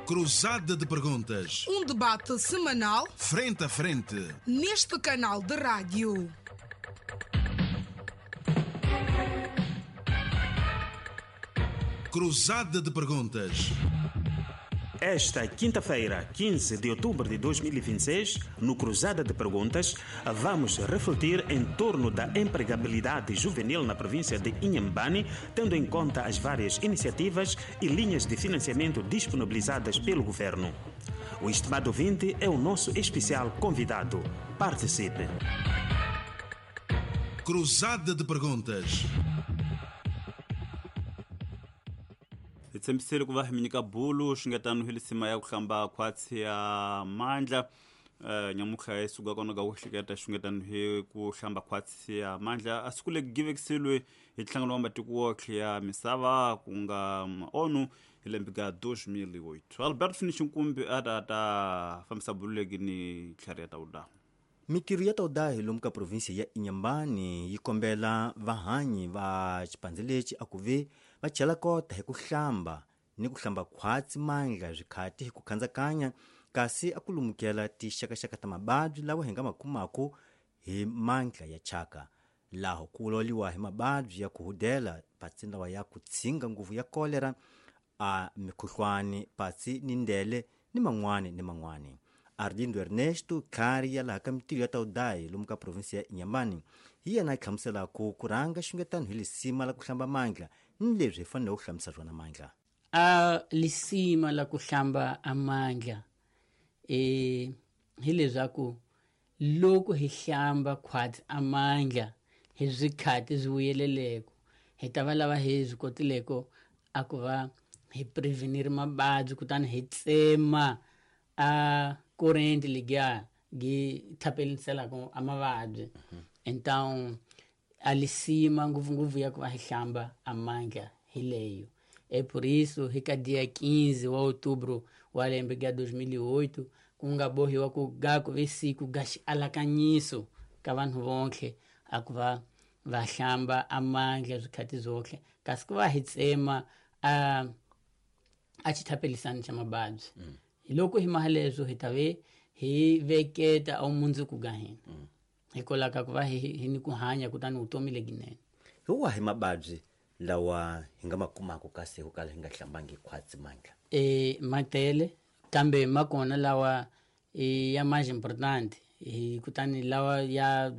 Cruzada de Perguntas. Um debate semanal Frente a frente. Neste canal de rádio. Cruzada de Perguntas. Esta quinta-feira, 15 de outubro de 2026, no Cruzada de Perguntas, vamos refletir em torno da empregabilidade juvenil na província de Inhambane, tendo em conta as várias iniciativas e linhas de financiamento disponibilizadas pelo governo. O estimado ouvinte é o nosso especial convidado. Participe! Cruzada de Perguntas. Hi tshembisile ku va hi mi nyika bulu xingetano hi lisima ya ku hlamba khwatsi ya mandla. Nyamutlha hi suka kona ka ku hleketa xingetano hi ku hlamba khwatsi ya mandla a siku legi givekiseliwe hi nhlangano wa matiko wotlhe ya misava ku nga ONU hi lembe ka 2008. Albert Fini Xinkumbi a ta ta fambisa bulu legi ni tlhari ya tawuda. Mitirho ya tawuda hi lomu ka provinsia ya Inhambane yi kombela vahanyi va xipandze lexi a ku ve va chela kota hi ku hlamba ni ku hlamba khwatsi mandla swikhati hi ku khandzakanya, kasi a ku lumukela tixakaxaka ta mababyi lawa hi nga ma kumaku hi mandla ya chaka. Laho ku loliwa hi mababyi ya ku hudela patsi lawa ya ku tshinga nguvu ya kolera, a mikhuhlwani, patsi ni ndele ni man'wani ni man'wani. Arlindo Ernesto Tlhari ya laha ka mitirho ya tawudayi lomu ka provinsia ya Inhambane hi yena a hlamuselaka ku rhanga xungetano hi lisima la ku hlamba mandla ni leswi hi fanele ku hlambisa swona mandla. A lisima la ku hlamba a mandla hi leswaku loko hi hlamba khwatsi a mandla hi swikhati swi vuyeleleko hi ta va lava hi swi kotileko a ku va hi prevenir mababyi kutani hi tsema a corrente ligar gi thapeliselaka a mavabyi. Então a lisima ngopfungopfu ya ku va hi hlamba a mandla hi leyo. É por isso hi ka dia 15 wa outubro wa lembe ga 2008 ku nga bohiwa ku ga ku ve siku ga xialakanyiso ka vanhu vonke a ku va va hlamba a mandla swikhati zwohle, kasi ku va hi tsema a xithapelisani xa mababyi. Hi loko hi maha leswo hi ta ve hi veketa a mundzuku ga hina. Hikwalaho ka ku va hi ni ku hanya kutani vutomi lebyinene. Hi wahi mababyi lawa hi nga ma kumaka kasi ho kala hi nga hlambangi khwatsi mandla? Matele kambe ma kona lawa ya mais important, hi kutani lawa ya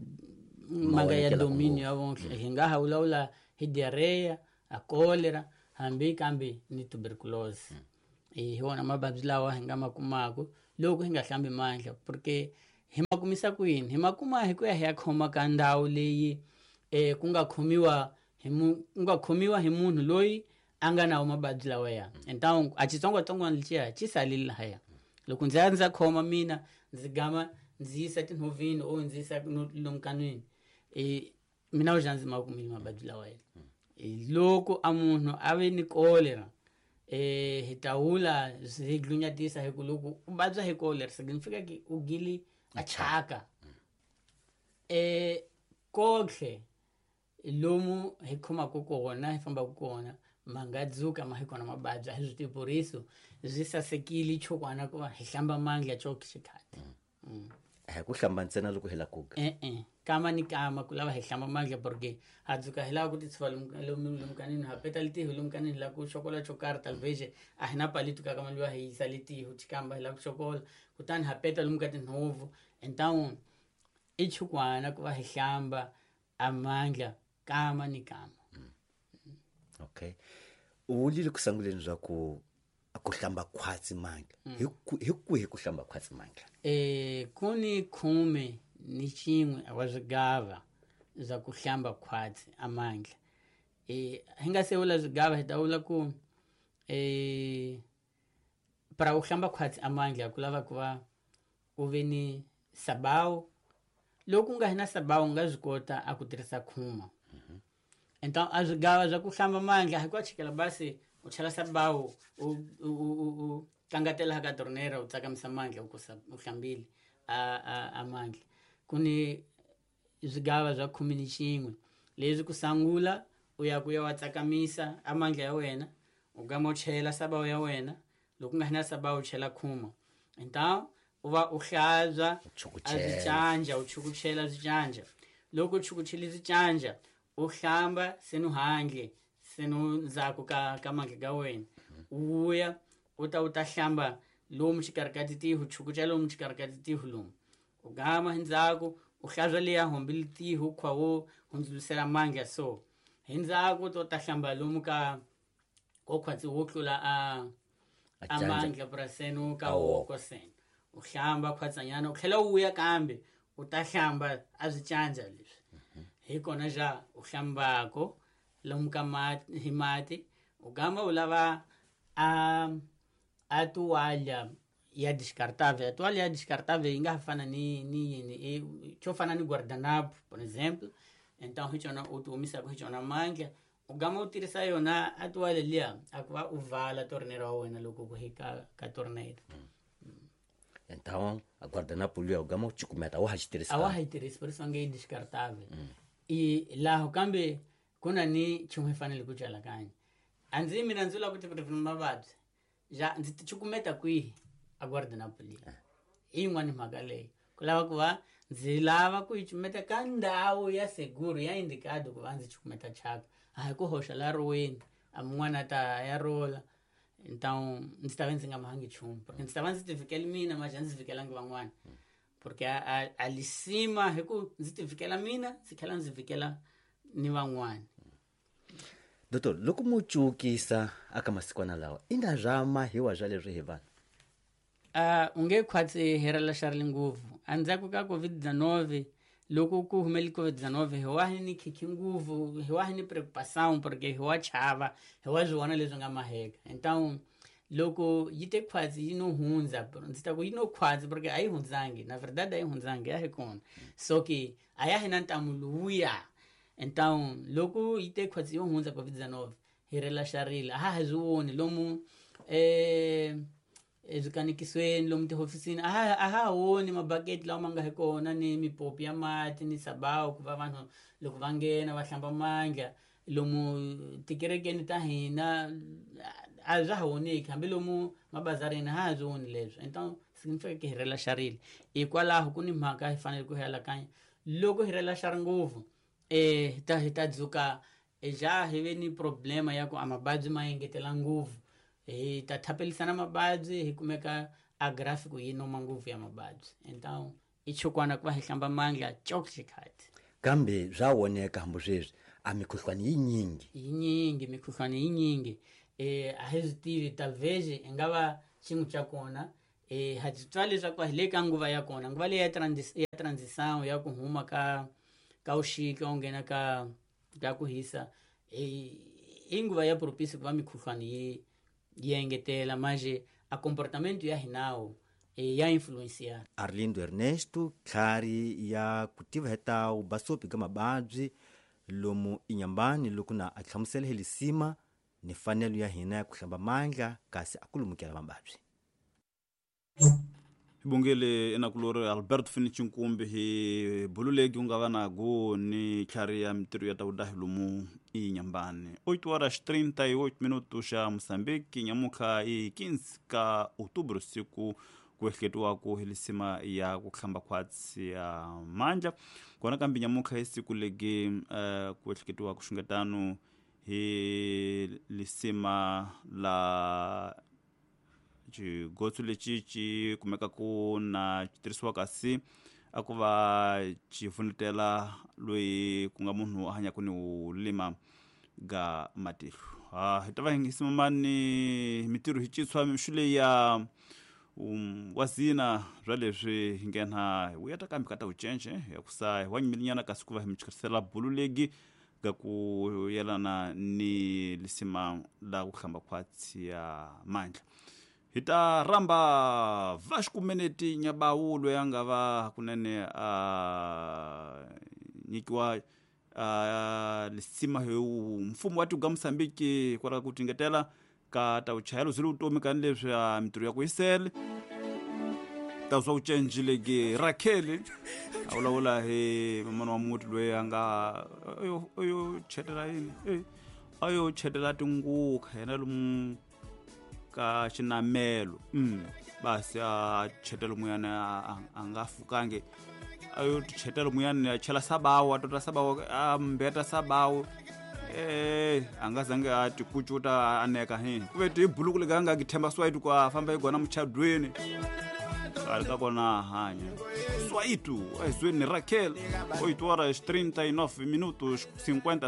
ma nga ya dominio ya vonke. Hi nga ha vulavula hi diarrhea, a cholera, hambi kambe ni tuberculosis. Hi wona mababyi lawa hi nga ma kumaka loko hi nga hlambi mandla, porque hi ma kumisa kwini? Hi ma kuma hi ku ya hi ya khoma ka ndhawu leyi ku nga khomiwa hi ku nga khomiwa hi munhu loyi a nga na mababyi lawa ya. Então a xitsongwatsongwana lexiya xi salile lahaya. Loko ndzi ya ndza khoma mina ndzi gama ndzi yisa tinhovini o ndzi yisa lomu kanwini, mina u ndzi ma kumile mababyi lawa ya. Loko a munhu a ve ni cholera, hi tawula hi glunyatisa hi ku loko u vabya hi cholera significa ki u gili a chaka. Kohle lomu hi khomaka kona hi fambaka kona ma nga dzuka ma hi kona mababyi a hi swi tivi, por isso swi sasekile chokwana ku va hi hlamba mandla choke xikhati. A hi ku hlamba ntsena loko hi la ku ga. E-e, kama ni kama ku lava hi hlamba mandla porque ha dzuka hi lava ku ti tshuva lomu kanini, ha peta litiho lomu kanini, hi lava ku xokola xo karhi talvez a hi na palito ka kama liwa hi yisa litiho xikamba hi lava ku xokola, kutani ha peta lomu ka tinhovu. Então i chukwana ku va hi hlamba a mandla kama ni kama. Okay. U vulile ku sunguleni swa ku a ku hlamba khwatsi mandla. Hi kwihi ku hlamba khwatsi mandla? Ku ni khume ni xin'we wa swigava swa ku hlamba khwatsi a mandla. Hi nga se vula swigava hi ta vula ku para ku hlamba khwatsi a mandla ku lava ku va u ve ni sabawu. Loko u nga hi na sabawu u nga swi kota a ku tirhisa khuma. Então a swigava swa ku hlamba mandla hi ku chikela basi u chela sabawu u kangatela ka tornera u tsakamisa mandla u kusa u hlambile a mandla. Ku ni swigava swa khume ni xin'we leswi ku sangula u ya ku ya wa tsakamisa a mandla ya wena, u gama u chela sabawu ya wena, Loko nga na sabao u chela khuma. Então u va u hlantswa a swicanja, u chukuchela swicanja. Loko u chukuchele swicanja, u hlamba senu handle, senu ndzhaku ka mandla ka wena. U vuya u ta hlamba lomu xikarhi ka titihu, chukuchela lomu xikarhi ka titihu lomu. U gama hi ndzhaku, u hlantswa liya hombi litihu khwa wo hundzulusela mandla so. Hi ndzhaku to ta hlamba lomu ka ko khwatsi wo tlula a mandla puraseni ka woko sena. U hlamba khwatsanyana, u tlhela u vuya kambe u ta hlamba a swicanja leswi. Hi kona ja u hlambako lomu ka mati hi mati, u gama u lava a toalha ya descartável. A toalha ya descartável yi nga fana ni yini, xo fana ni guardanapo, por exemplo. Então hi xona u ti omisaka hi xona mandla, u gama u tirhisa yona a toalha liya a ku va u vala torneira wa wena loko ku hi ka torneira. Então a guardanapo liya u gama u cukumeta, a wa ha xi tirhisi. A wa ha yi tirhisi, por isso nge yi descartável. I laho kambe ku na ni nchumu hi fanele ku calakanya. A ndzi mina ndzi lava ku ti prevent mavabyi. Ja ndzi ti cukumeta kwihi a guardanapo liya? I yin'wani mhaka leyi. Ku lava ku va ndzi lava ku yi cumeta ka ndhawu ya seguro ya indicado ku va ndzi cukumeta thyaka. A hi ku hoxa la riweni, a mun'wana ta ya rola. Então ndzi ta va ndzi nga mahangi nchumu, porque ndzi ta va ndzi ti vhikela mina ma ja ndzi vhikelangi van'wana. Porque a lisima hi ku ndzi ti vhikela mina, ndzi tlhela ndzi vhikela ni van'wana. Doctor, loko mo cukisa aka masikwana lawa, i nga swa mahiwa swa leswi hi vanhu? U nge khwatsi hi relaxarile ngopfu. Endzhaku ka COVID-19, loko ku humele COVID-19, hi wa hi ni khikhi ngopfu, hi wa hi ni preocupação, porque hi wa chava, hi wa swi vona leswi nga maheka. Então loko yi te khwatsi yi no hundza, ndzi ta ku yi no khwatsi porque a yi hundzangi, na verdade a yi hundzangi, ya hi kona. So ke a ya hi na ntamu luya. Então loko yi te khwatsi yo hundza COVID-19, hi relaxarile, a ha ha swi voni lomu eswikanikisweni, lomu tihofisini, a ha voni mabaketi lawa ma nga hi kona ni mipopi ya mati ni sabawu ku va vanhu loko va nghena va hlamba mandla. Lomu tikerekeni ta hina a swa ha voneki, hambi lomu mabazarini ha ha swi voni leswi. Então significa que hi relaxarile. Hikwalaho ku ni mhaka hi fanele ku hi alakanya. Loko hi relaxari ngopfu, hi ta dzuka ja hi ve ni problema ya ku a mavabyi ma engetela ngopfu. Hi ta thapelisana mavabyi, hi kumeka a graphic yi noma ngopfu ya mavabyi. Então i chukwana ku va hi hlamba mandla chok xikhathi. Kambe swa voneka hambi sweswi a mikhuhlwani yi nyingi. Yi nyingi, mikhuhlwani yi nyingi. A hi swi tivi, talvez i nga va xin'we xa kona. Ha swi twa leswaku hi le ka nguva ya kona, nguva leyi ya transição ya ku huma ka vuxika u nghena ka ku hisa, i nguva ya propício ku va mikhuhlwani yi engetela, manje a comportamento ya hinawo ya influenciar. Arlindo Ernesto, tlhari ya ku tiva hi ta vubasopi ka mavabyi lomu Inhambane, loko na a hlamusela hi lisima ni fanelo ya hina ya ku hlamba mandla kasi a ku lumukela mavabyi. Bongele enakulori Alberto Fini Nkumbi hi bululeki u nga va na go ni tlhari ya mitirho ya ta vudahi lomu Inhambane. 8 horas 38 minutos xa Moçambique, nyamutlha i 15 ka outubro, siku ku ehleketiwaku hi lisima ya ku hlamba khwatsi ya mandla. Kona kambe nyamutlha hi siku legi ku ehleketiwaku xungetano hi lisima la xigotso lexi xi kumekaku na xi tirhisiwa kasi a ku va xi pfunetela loyi ku nga munhu a hanyaka ni u lima ga matihlo. Hi ta va hi simamani mitirho hi citshwa mixu leyi ya wazina bya leswi hi nghena hi vuya ta kambe ka ta vucence ya ku sa hi wa nyimelinyana kasi ku va hi mi chikerisela bulu legi ga ku yelana ni lisima la ku hlamba khwatsi ya mandla. Hi ta rhamba Vasco Meneti Nyabawu loyi a nga va kunene a nyikiwa lisima hi mfumo wa tiko ga Mozambique hikwalaho ku tingetela ka ta vuchayelo byi le vutomi ka leswi a mitirho ya ku yisele ta swa vucenji legi Raquel a vulavula hi mamana wa muti loyi a nga ayo chetela yini a yo chetela tinguka yena lomu Ka xinamelo basi a chetelo muyani a nga fukangi a yo chetelo muyani a chela sabawu a tota sabawu a mbeta sabawu a nga zange a ti kucuta a neka hi ku ve ti buluku lega nga ki themba swaitu ku a famba hi gona muchadweni ali ka kona a hanya swaitu ezweni Raquel, 8 horas 39 minutos 50.